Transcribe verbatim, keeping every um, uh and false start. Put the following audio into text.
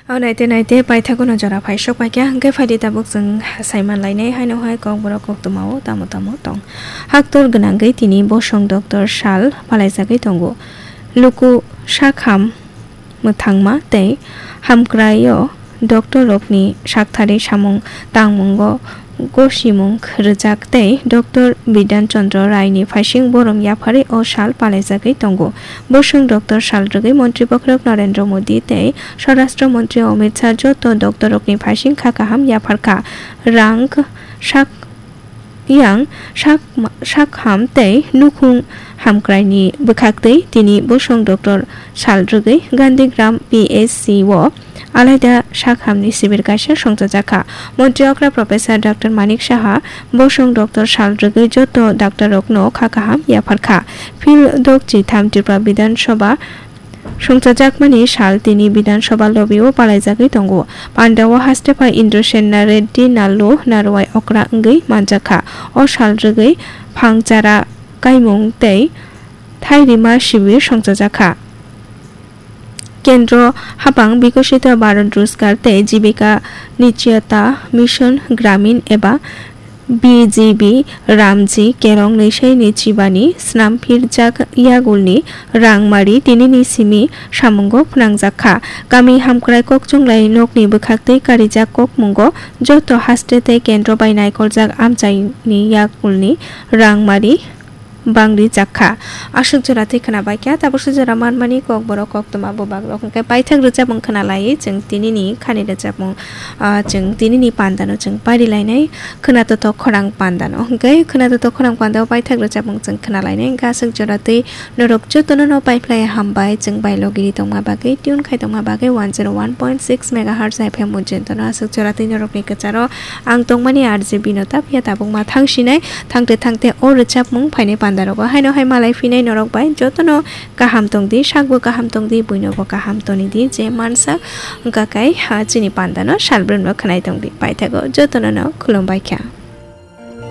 O naite naite paithago no jora phai sok paikha, hwnkhe phaidi tabuk chwng saiman lainai haino hai kokborok koktwmao tamo tamo tong. Haktor gwnangwi tini bosong doctor sal palaijagwi tongo. Luku sakham mwthangma tei hamkraio doctor rokni sakthari samung tangmungo gosimung rwjak tei doctor Bidhan Chandra Rai ni phaising borom yapharwi o sal palaijagwi tongo. Bosong doctor sal rwgwi Montri Bokhorok Narendra Modi tei Swarashtra Montri Amit Shah joto doctor rokni phaising kha kaham yapharkha. Rang sak yang sak, sak ham tei nukhung hamkraini bwkhaktwi tini bosong doctor sal rwgwi Gandhigram P H C o alaida sak hamni sibir kaisa songchajakha. Montri okra Professor Doctor Manik Saha bosong doctor sal rwgwi joto doctor rokno kha kaham yapharkha. Phil dok chitham Tripura Bidhan Sabha songchajakmani sal tini Bidhan Sabha lobby o palaijagwi tongo. Pandao haste phai Indrasen Reddy Nallu Narwai okra wngwi manjakha. O sal rwgwi Phangchara kaimung tei thairima sibir songchajakha. Kendro hapang Bikosito Bharat Rozgar tei Jibika Nishchiyata Mission Gramin eba B G B Ramji Kerong Nisai Nichibani snam phirjak yagulni rangmari tinini simi samungo phnangjakha. Kami hamkrai kokchunglai nokni bwkhaktwi karijak kokmungo joto haste tei kendro bai naikoljak amchaini yagulni rangmari bangri jakha. Aswk jora tei khwna baikha, tabuksa jora manmani kokborok koktwma bubak rok hwnkhe paithak rwchapmung khwna laiwi chwng tinini khani rwchapmung, ah, chwng tinini pandano chwng pari lainai. Khwnatotok khorang pandano hwnkhe khwnatotok khorang pandao paithak rwchapmung chwng khwna lainai. Hwnkhe aswk jora tei norok jotono no paiphlai hambai chwng bai logiri tongma bagwi, tune khai tongma bagwi one zero one point six megahertz F M mujintono. Aswk jora tei norokni kwcharo ang tongmani R J Bino Tapia tabukma thangsinai. Thangte thangte o rwchapmung phainai pandarogo haino hai malai phinai norok bai jotono kaham tongdi, sakbo kaham tongdi, buinobo kaham tonidi, je mansa wngkha kai ha chini pandano salbrumno khwnai tongdi. Paithago jotono no khulumbaikha.